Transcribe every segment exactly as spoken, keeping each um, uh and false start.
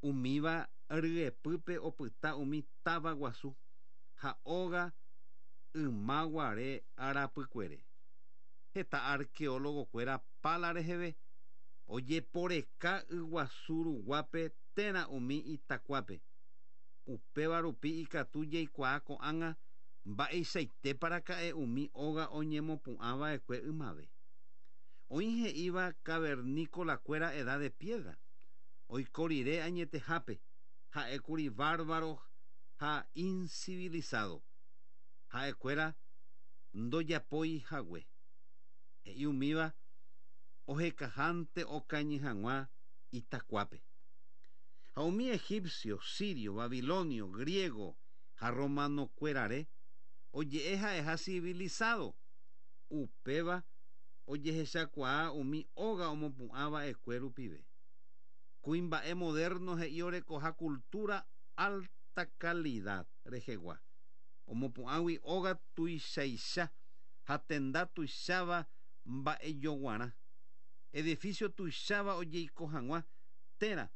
Umíva ryepýpe opyta umi táva guasu ha óga ymaguare arapykuere. Heta arqueólogo-kuéra pala reheve ojeporeka yguasu ruguápe térã umi itakuápe. Upéva rupi ikatu jaikuaa ko'ág̃a mba'eichaitéparaka'e umi óga oñemopu'ãva'ekue ymave. Oĩ he'íva cavernícola-kuéra edad de piedra. Oiko rire añetehápe ha'ékuri bárbaro ha incivilizado. Ha'ekuéra ndojapói hague. He'i umíva ohekahánte okañy hag̃ua itakuápe. Ha umi egipcio, sirio, babilonio, griego ha romano-kuérare oje'e ha'eha civilizado. Upéva ojehechakuaa umi óga omopu'ãva'ekue rupive. Kuimba'e moderno he'i orekoha cultura alta calidad rehegua. Omopu'ãgui óga tuichaicha ha tenda tuicháva mba'ejoguarã. Edificio tuicháva ojeiko hag̃ua térã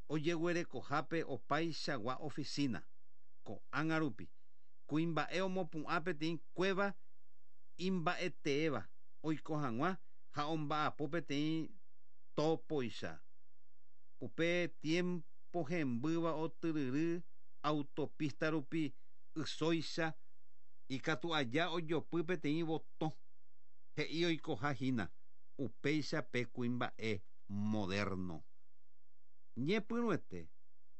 ojeguerekohápe opaichagua oficina. Ko'ág̃a rupi kuimba'e omopu'ã peteĩ cueva imba'eteéva oiko hag̃ua ha omba'apo peteĩ topoicha. Upe tiempo hembýva otyryry autopista rupi ysóicha ikatu aja ojopy peteĩ botõ he'i oikoha hína upéicha pe kuimba'e moderno. Ñepyrũete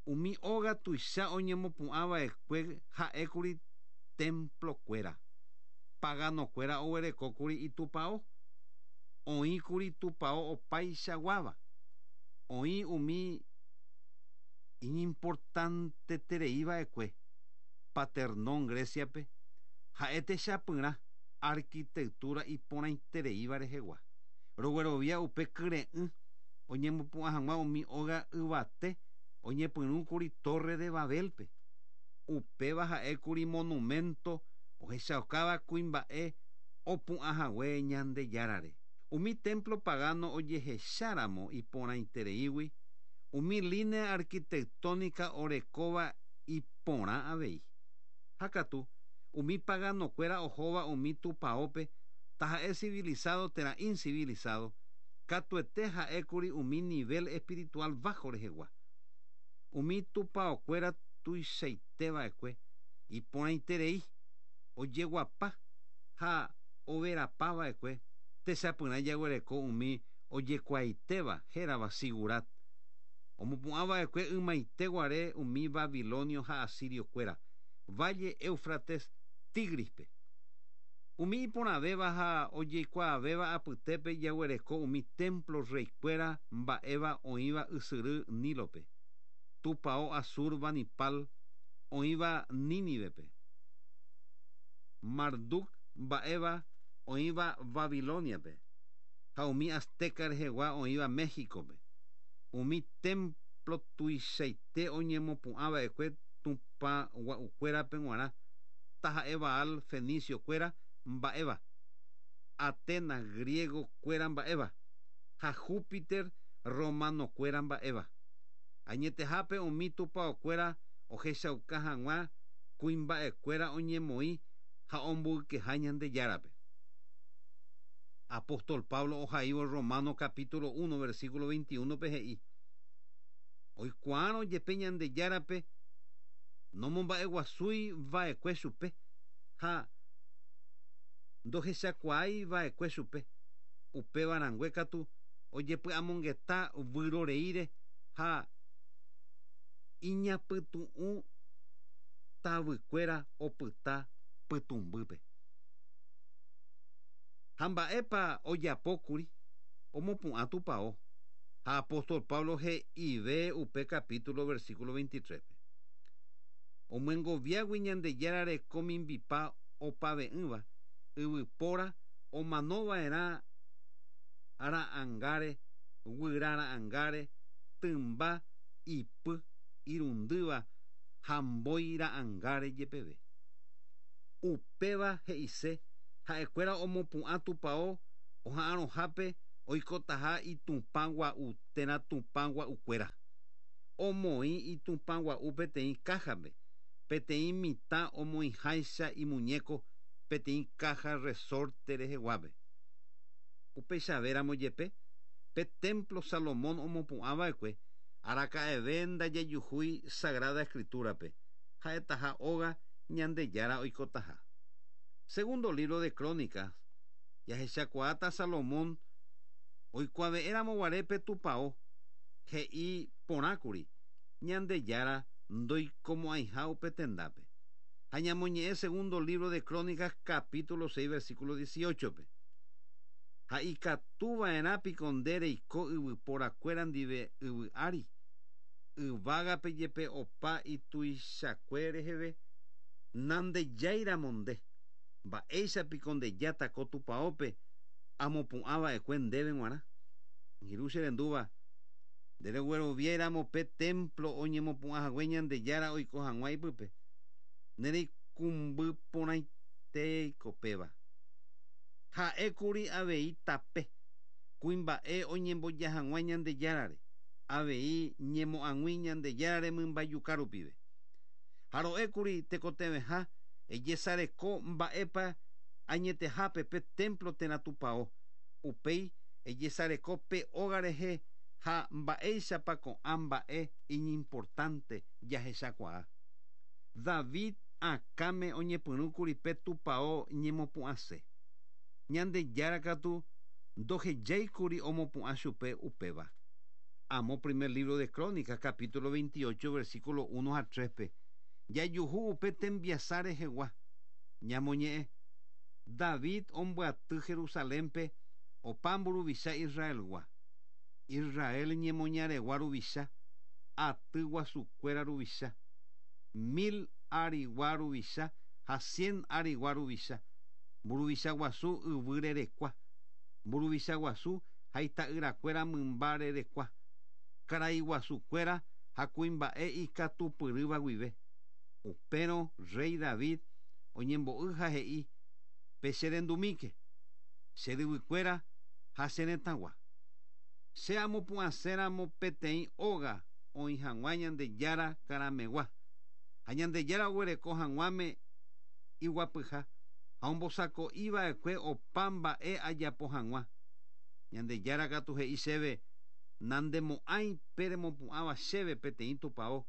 umi óga tuicha oñemopu'ãva'ekue ha'ékuri templo-kuéra. Pagano-kuéra oguerekókuri itupão. Oĩkuri tupão opaichaguáva. Oĩ umi iñimportantetereiva'ekue Paternón Greciape ha'e techapyrã arquitectura iporãitereíva rehegua. Roguerovia upe kyre'ỹ oñemopu'ã hag̃ua umi óga yvate oñepyrũkuri Torre de Babelpe. Upéva ha'ékuri monumento ohechaukáva kuimba'e opu'ãhague Ñandejárare. Umi templo pagano ojehecháramo iporãitereígui umi línea arquitectónica orekóva iporã avei. Ha katu umi pagano-kuéra ohóva umi tupãópe taha'e civilizado térã incivilizado katuete ha'ékuri umi nivel espiritual bajo rehegua. Umi tupãokuéra tuichaiteva'ekue iporãiterei ojeguapa ha overapava'ekue techapyrã jaguereko umi ojekuaaitéva hérava zigurat. Omopu'ãva'ekue ymaite guare umi babilonio ha asirio-kuéra Valle Éufrates Tigrispe. Umi iporãvéva ha ojeikuaavéva apytépe jaguereko umi templo reykuéra mba'éva oĩva ysyry Nílope. Tupão Asurbanipal oĩva Nínivepe. Marduk mba'éva oĩva Babiloniape. Ha umi azteca rehegua oĩva Méxicope. Umi templo tuichaite oñemopu'ãva'ekue tupã gua'ukuérape g̃uarã taha'e Baal fenicio-kuéra mba'éva, Atenas griego-kuéra mba'éva ha Júpiter romano-kuéra mba'éva. Añetehápe umi tupãokuéra ohechauka hag̃ua kuimba'ekuéra oñemoĩ ha omboykeha Ñandejárape. Apóstol Pablo ohaívo Romano capítulo uno versículo veintiuno pe he'i oikuaárõ jepe Ñandejárape nomomba'eguasúi va'ekue chupe ha ndohechakuaái va'ekue chupe. Upéva rangue katu ojepy'amongeta vyroreíre ha iñapytu'ũ tavykuéra opyta pytũmbýpe. Ha mba'épa ojapókuri omopu'ã tupão. Ha apóstol Pablo he'ive upe capítulo versículo veintitrés-pe. Omyengoviágui Ñandejára reko mimbipa opave'ỹva yvypóra omanova'erã ra'ãngáre, guyra ra'ãngáre, tymba ipy irundýva ha mbói ra'ãngáre jepeve. Upéva he'ise ha'ekuéra omopu'ã tupão oha'arõhápe oikotaha itupã gua'u térã tupã gua'ukuéra. Omoĩ itupãgua'u peteĩ kájape, peteĩ mitã omoĩháicha imuñéko peteĩ kája resorte reheguápe. Upeichavéramo jepe, pe templo Salomón omopu'ãva'ekue araka'eve ndajejuhúi Sagrada Escritura-pe, ha'etaha óga Ñandejára oikotaha. Segundo libro de Crónicas, jahechakuaáta Salomón oikuave'ẽramo guare pe tupão he'i porãkuri Ñandejára ndoikomo'ãiha upe tendápe. Ha ñamoñe'ẽ segundo libro de Crónicas capítulo seis versículo dieciocho-pe. Ha ikatuva'erã piko nde reiko yvyporakuéra ndive yvy ári, yvágape jepe opa ituichakue reheve nandejáiramo nde, mba'éichapiko ndejáta ko tupãópe amopu'ãva'ekue ndéve g̃uarã. Angirũ che rendúva, nderegueroviáiramo pe templo oñemopu'ãhague Ñandejára oiko hag̃ua ipype, nereikumby porãitéiko péva. Ha'ékuri avei tape, kuimba'e oñemboja hag̃ua Ñandejárare, avei ñemo'ag̃ui Ñandejárare mymbajuka rupive. Ha ro'ékuri tekotevẽha ejesareko mba'épa añetehápe pe templo térã tupão, upéi ejesareko pe óga rehe ha mba'éichapa ko'ã mba'e iñimportante jahechakuaa. David akãme oñepyrũkuri pe tupão ñemopu'ãse. Ñandejára katu ndohejáikuri omopu'ã chupe upéva. Amo primer libro de Crónicas, capítulo veintiocho, versículo uno a tres-pe. Jajuhu upe tembiasa rehegua. Ñamoñe'ẽ. David ombyaty Jerusalénpe opa mburuvicha Israelgua. Israel ñemoñaregua ruvicha, aty guasukuéra ruvicha, mil arigua ruvicha ha cien arigua ruvicha, mburuvicha guasu yvy rerekua, mburuvicha guasu ha ita'yrakuéra mymba rerekua, karai guasukuéra ha kuimba'e ikatupyrýva guive. Upérõ rey David oñembo'y ha he'i pecherendumíke, che ryvykuéra ha che retãgua. Che amopu'ãséramo peteĩ óga oĩ hag̃ua Ñandejára karamegua, ha Ñandejára oguereko hag̃uáme iguapyha ha ombosako'iva'ekue opa mba'e ajapo hag̃ua. Ñandejára katu he'i chéve nandemo'ãi pe remopu'ãva chéve peteĩ tupão,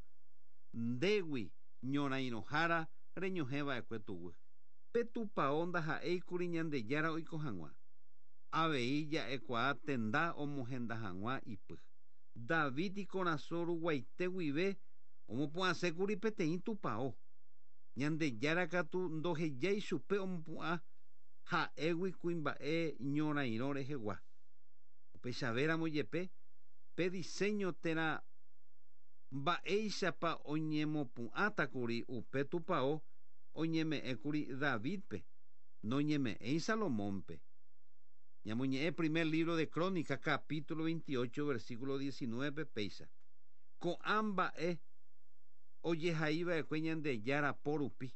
ndégui ñorairõhára reñohẽva'ekue tuguy. Pe tupão ndaha'éikuri Ñandejára oiko hag̃ua. Avei ja'ekuaa tenda omohenda hag̃ua ipy. David ikorasõ ruguaite guive omopu'ãsékuri peteĩ tupão. Ñandejára katu ndohejái chupe omopu'ã ha'égui kuimba'e ñorairõ rehegua. Upechavéramo jepe pe diseño térã mba'éichapa oñemopu'ãtakuri upe tupão oñeme'ẽkuri Davidpe, noñeme'ẽi Salomónpe. Ñamoñe'ẽ primer libro de Crónicas, capítulo veintiocho, versículo diecinueve péicha. Ko'ã mba'e ojehaiva'ekue Ñandejára po rupi,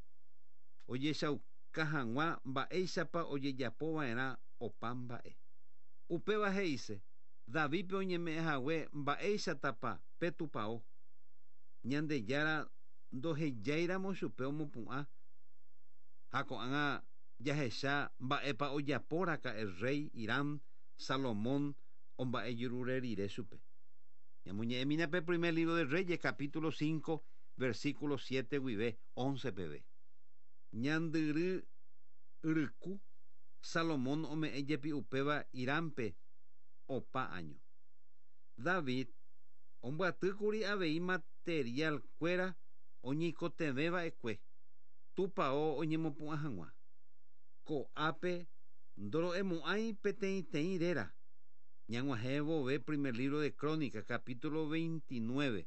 ojechauka hag̃ua mba'éichapa ojejapova'erã opa mba'e. Upéva he'ise, Davidpe oñeme'ẽhague mba'éichatapa pe tupão. Ñandejára ndohejáiramo chupe omopu'ã ha ko'ág̃a jahecha mba'épa ojapóraka'e rey Hiram Salomón omba'ejurure rire chupe. Ñamoñe'ẽmína pe primer libro de Reyes, capítulo cinco, versículo siete guive once peve. Ñandyry yryku Salomón ome'ẽ jepi upéva Hirampe opa año. David ombyatýkuri avei material kuéra oñeikotevẽva'ekue tupão oñemopu'ã hag̃ua. Ko'ápe ndoro'emo'ãi peteĩteĩ réra. Ñag̃uahẽ vove primer libro de Crónicas, capítulo veintinueve,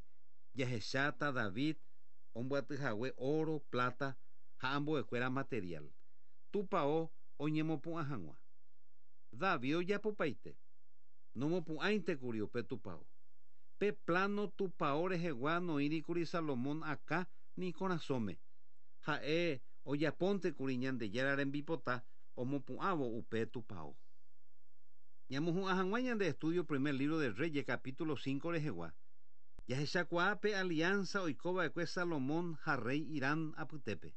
jahecháta David ombyatyhague oro, plata ha ambuekuéra material. Tupão oñemopu'ã hag̃ua. David ojapopaite. Nomopu'ãintekuri upe tupão. Pe plano tupão rehegua noĩrikuri Salomón akã ni korasõme. Ha'e ojapóntekuri Ñandejára rembipota omopu'ãvo upe tupão. Ñamohu'ã hag̃ua ñande estudio primer libro de Reyes capítulo cinco rehegua. Jahechakuaa pe alianza oikova'ekue Salomón ha rey Hiram apytépe.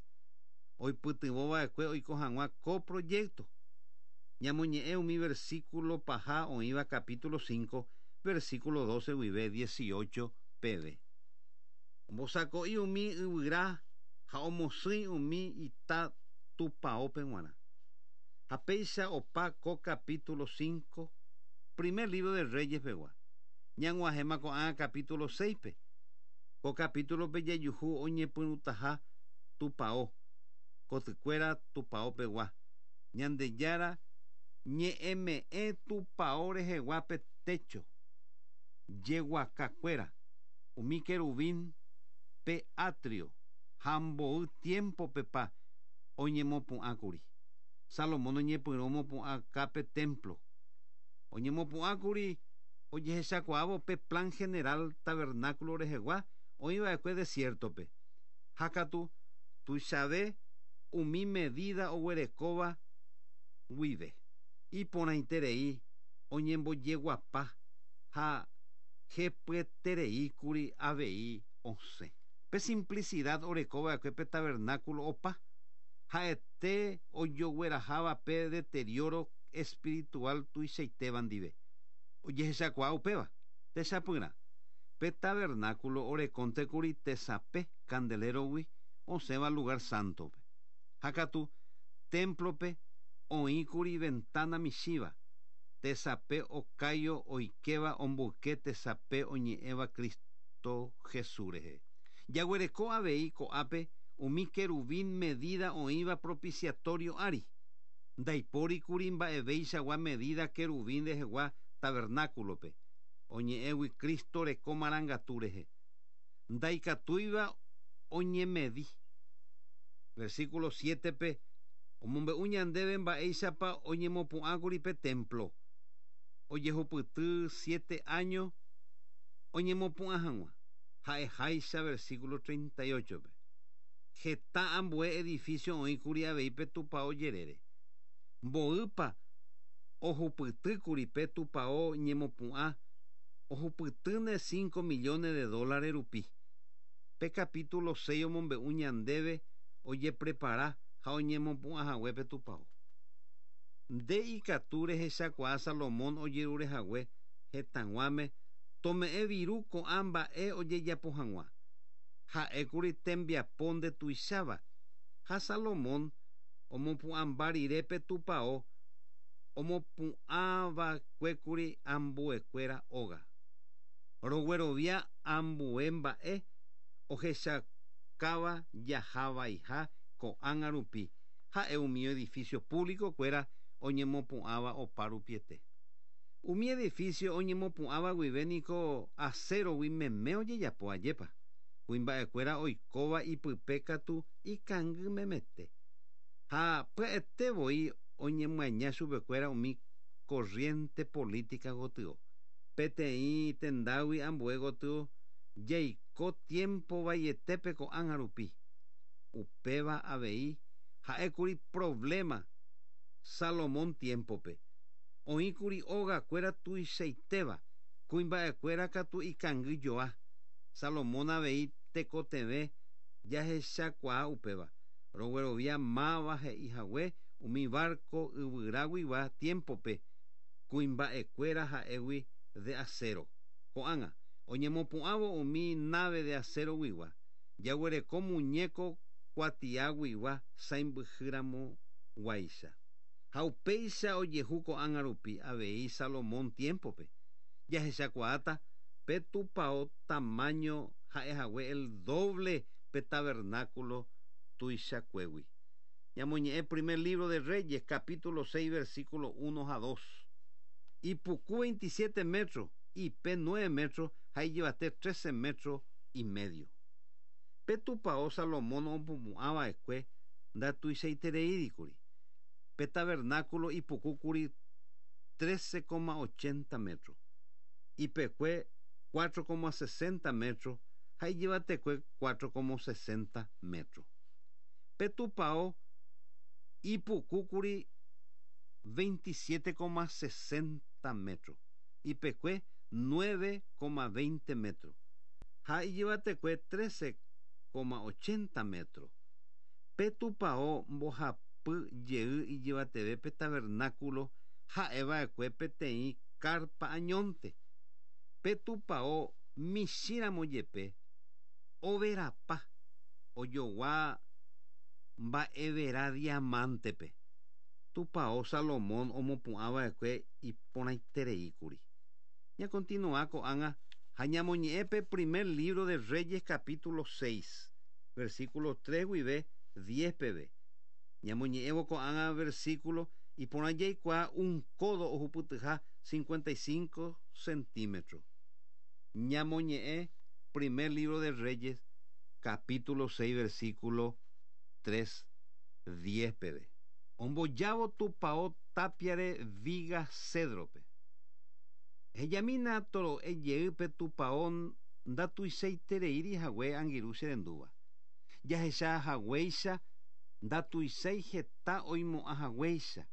Oipytyvõva'ekue oiko hag̃ua ko proyecto. Ñamoñe'ẽ umi versículo paha oĩva capítulo cinco, versículo doce guive dieciocho peve. Ombosako'i umi yvyra ha omosỹi umi ita tupãópe g̃uarã. Ha péicha opa ko capítulo cinco, primer libro de Reyes pegua. Ñag̃uahẽma ko'ã capítulo seis-pe. Ko capítulo-pe jajuhu oñepyrũtaha tupão, kotykuéra tupão pegua. Ñandejára ñe'ẽme'ẽ tupão rehegua pe techo, jeguakakuéra, umi querubín pe atrio, ha mboy tiempo-pepa oñemopu'ãkuri. Salomón oñepyrũ omopu'ãka pe templo. Oñemopu'ãkuri ojehechakuaávo pe plan general tabernáculo rehegua oĩva'ekue desierto-pe. Ha katu tuichave umi medida oguerekóva guive. Iporãiterei oñembojeguapa ha hepyetereíkuri avei osẽ. Pe simplicidad orekova'ekue pe tabernáculo opa ha'ete ojogueraháva pe deterioro espiritual tuichaitéva ndive. Ojehechakuaa upéva techapyrã. Pe tabernáculo orekóntekuri tesape candelero-gui osẽva lugar santo-pe. Ha katu templo-pe oĩkuri ventana michĩva tesape okáio oikéva omboyke tesape oñe'ẽva Cristo Jesús rehe. Jaguereko avei ko'ápe umi querubín medida oĩva propiciatorio ári. Ndaipórikuri mba'eveichagua medida querubín rehegua tabernáculo-pe. Oñe'ẽgui Cristo reko marangatu rehe. Ndaikatúiva oñemedi. Versículo siete-pe omombe'u ñandéve mba'éichapa oñemopu'ãkuri pe templo. Ojehupyty siete años oñemopu'ã hag̃ua. Ha'eháicha versículo treinta y ocho-pe. Heta ambue edificio oĩkuri avei pe tupão jerére. Mboýpa ohupytýkuri pe tupão ñemopu'ã ohupytýne cinco millones de dólares rupi. Pe capítulo seis omombe'u ñandéve ojeprepara ha oñemopu'ãhague pe tupão. Nde ikatu rehechakuaa Salomón ojerurehague hetãguáme tome'ẽ viru ko'ã mba'e ojejapo hag̃ua. Ha'ékuri tembiapo ndetuicháva. Ha Salomón omopu'ãmba rire pe tupão omopu'ãva'ekuékuri ambuekuéra óga. Roguerovia ambue mba'e ohechakáva jahavaiha ko'ág̃a rupi. Ha'e umi edificio público-kuéra oñemopu'ãva opa rupiete. Umi edificio oñemopu'ãva guive niko acero-gui meme ojejapo ajépa. Kuimba'ekuéra oikóva ipype katu ikangy memete. Ha pya'ete voi oñemyaña chupekuéra umi corriente política gotyo. Peteĩ tendágui ambue gotyo jaiko tiempo vaietépe ko'ág̃a rupi. Upéva avei ha'ékuri problema Salomón tiempo-pe. Oĩkuri ógakuéra tuichaitéva, kuimba'ekuéra katu ikangyjoa. Salomón avei tekotevẽ jahechakuaa upéva. Roguerovia máva he'ihague umi barco yvyraguigua tiempo-pe kuimba'ekuéra ha'égui de acero. Ko'ág̃a oñemopu'ãvo umi nave de acero-guigua. Jaguereko muñeco kuatiaguigua sãimbyhýramo guáicha. Ha upéicha ojehu ko'ág̃a rupi avei Salomón tiempo-pe. Jahechakuaáta pe tupão tamaño ha'ehague el doble pe tabernáculo tuichakuégui. Ñamoñe'ẽ primer libro de Reyes, capítulo seis, versículo uno a dos. Ipuku veintisiete metros, ipe nueve metros, ha ijyvate trece metros y medio. Pe tupão Salomón omopu'ãva'ekue ndatuichaitereídikuri. Pe tabernáculo ipukúkuri trece coma ochenta metros, ipekue cuatro coma sesenta metros, ha ijyvatekue cuatro coma sesenta metros. Pe tupão ipukúkuri veintisiete coma sesenta metros, ipekue nueve coma veinte metros. Ha ijyvatekue trece coma ochenta metro. Pe tupão mbohapy jey ijyvateve pe tabernáculo ha'eva'ekue peteĩ carpa añónte. Pe tupão michĩramo jepe overapa ojogua mba'evera diamantepe. Tupão Salomón omopu'ãva'ekue iporãitereíkuri. Ñakontinua ko'ág̃a ha ñamoñe'ẽ pe primer libro de Reyes capítulo seis, versículo tres guive diez peve. Ñamoñe'ẽvo ko'ág̃a versículo iporã jaikuaa un codo ohupytyha cincuenta y cinco centímetros. Ñamoñe'ẽ primer libro de Reyes capítulo seis versículo tres diez peve. Ombojávo tupão tápiare viga cedrope. Hejamína toro'e jeýpe tupão ndatuichaitereíri hague angirũ cherendúva. Jahecha haguéicha ndatuichái heta oimo'ã haguéicha.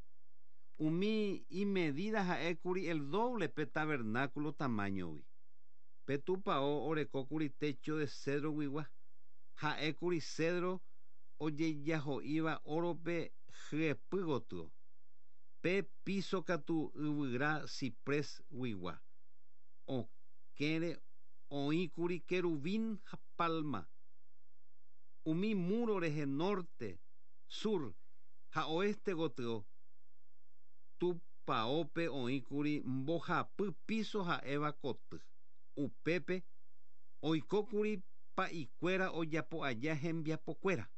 Umi imedida ha'ékuri el doble pe tabernáculo tamañogui. Pe tupão orekókuri techo de cedro guigua. Ha'ékuri cedro ojejaho'íva orope hyepy gotyo. Pe piso katu yvyra ciprés guigua. Okẽre oĩkuri querubín ha palma. Umi muro rehe norte, sur ha oeste gotyo tupãópe oĩkuri mbohapy piso ha'éva koty. Upépe oikókuri pa'ikuéra ojapo aja hembiapokuéra.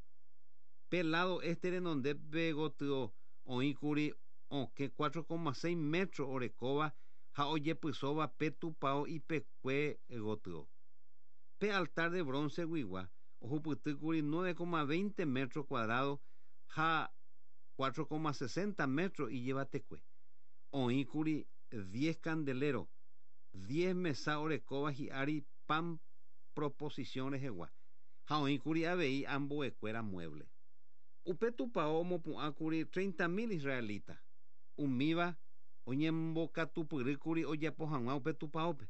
Pe lado este renondépe gotyo oĩkuri okẽ cuatro coma seis metro orekóva ha ojepysóva pe tupão ipekue gotyo. Pe altar de bronce guigua ohupytýkuri nueve coma veinte metro cuadrado ha cuatro coma sesenta metro ijyvatekue. Oĩkuri diez candelero, diez mesa orekóva hi'ári pan proposición rehegua ha oĩkuri avei ambuekuéra mueble. Upe tupão omopu'ãkuri treinta mil israelita. Umíva oñembokatupyrýkuri ojapo hag̃ua upe tupãópe.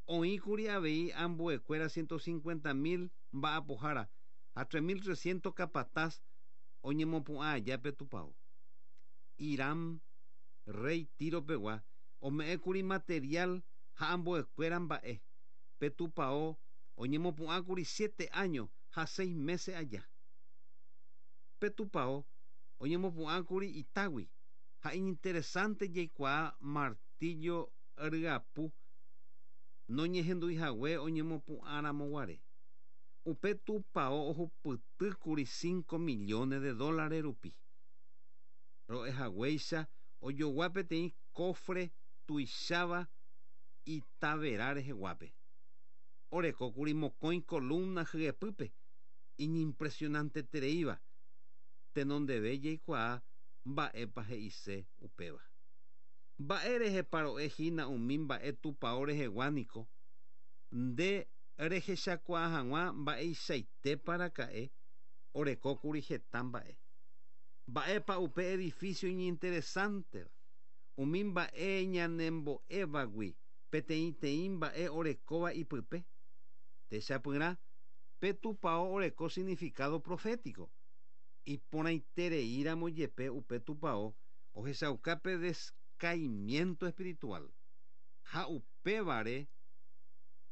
Oĩkuri avei ambuekuéra ciento cincuenta mil mba'apohára ha tres mil trescientos capataz oñemopu'ã aja pe tupão. Hiram, rey Tiro pegua, ome'ẽkuri material ha ambuekuéra mba'e. Pe tupão oñemopu'ãkuri siete años ha seis meses aja. Pe tupão oñemopu'ãkuri itágui ha iñinteresante jaikuaa martillo ryapu noñehenduihague oñemopu'ãramoguare. Upe tupão ohupytýkuri cinco millones de dólares rupi. Ro'ehaguéicha ojogua peteĩ cofre tuicháva itavera reheguápe. Orekókuri mokõi columna hyepýpe iñimpresionantetereíva. Tenondeve jaikuaa mba'épa he'ise upéva. Mba'e rehepa ro'ehína umi mba'e tupão rehegua niko nde rehechakuaa hag̃ua mba'eichaitépa raka'e orekókuri heta mba'e. Mba'épa upe edificio iñinteresanteva. Umi mba'e ñanembo'évagui peteĩteĩ mba'e orekóva ipype. Techapyrã pe tupão oreko significado profético. Iporãitereíramo jepe upe tupão ohechauka pe descaimiento espiritual. Ha upévare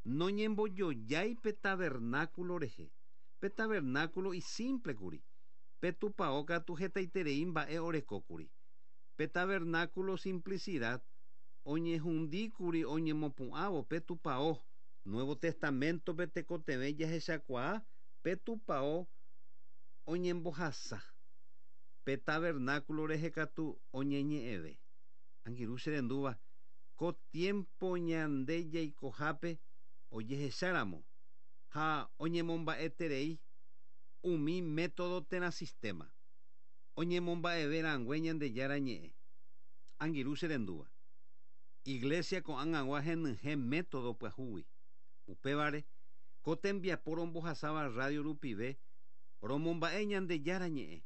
noñembojojái pe tabernáculo rehe. Pe tabernáculo isimplekuri. Pe tupão katu hetaiterei mba'e orekókuri. Pe tabernáculo simplicidad oñehundíkuri oñemopu'ãvo pe tupão. Nuevo Testamento pe tekotevẽ jahechakuaa pe tupão oñembohasa. Pe tabernáculo rehe katu oñeñe'ẽve. Angirũ cherendúva ko tiempo ñande jaikohápe ojehecháramo ha oñemomba'eterei umi método térã sistema. Oñemomba'eve rãngue Ñandejára ñe'ẽ. Angirũ cherendúva. Iglesia ko'ág̃agua henyhẽ método pyahúgui. Upévare ko tembiapo rombohasáva radio rupive romomba'e Ñandejára ñe'ẽ.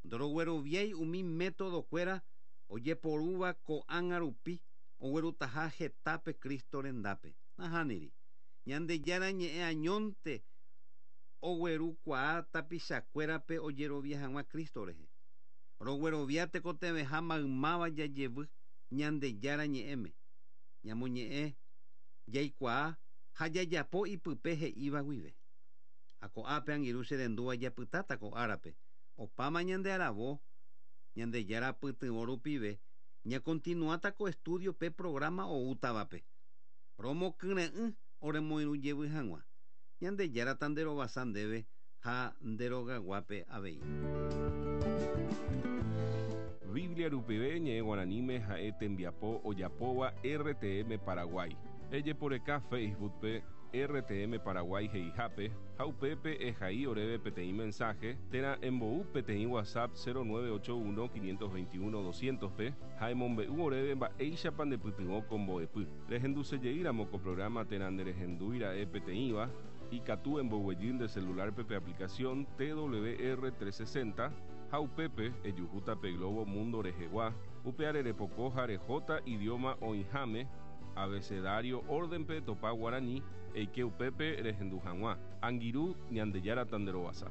Ndorogueroviái umi métodokuéra ojeporúva ko'ág̃a rupi oguerutaha hetápe Cristo rendápe. Nahániri. Ñandejára ñe'ẽ añónte oguerukuaa tapichakuérape ojerovia hag̃ua Cristo rehe. Roguerovia tekotevẽha maymáva jajevy Ñandejára ñe'ẽme. Ñamoñe'ẽ jaikuaa ha jajapo ipype he'íva guive. Ha ko'ápe angirũ cherendúva japytáta ko árape. Opáma ñande aravo Ñandejára pytyvõ rupive ñakontinuáta ko estudio pe programa oútavape. Romokyre'ỹ oremoirũjevy hag̃ua. Ñandejára tanderovasa ndéve ha nderogaguápe avei. Biblia rupive ñe'ẽ guaraníme ha'e tembiapo ojapóva R T M Paraguay. Ejeporeka Facebook-pe R T M Paraguay he'ihápe ha upépe ehai oréve peteĩ mensaje térã embou peteĩ WhatsApp cero nueve ocho uno quinientos veintiuno doscientos-pe ha emombe'u oréve mba'éichapa ndepytyvõ ko mbo'epy. Rehendusejeýramo ko programa térã nderehendúira'e peteĩva, ikatu emboguejy nde celular-pe pe aplicación T W R trescientos sesenta ha upépe ejuhúta pe globo mundo rehegua, upe arerepoko ha rehóta idioma oĩháme abecedario orden-pe topa guarani eike upépe rehendu hag̃ua. Angirũ, Ñandejára tanderovasa.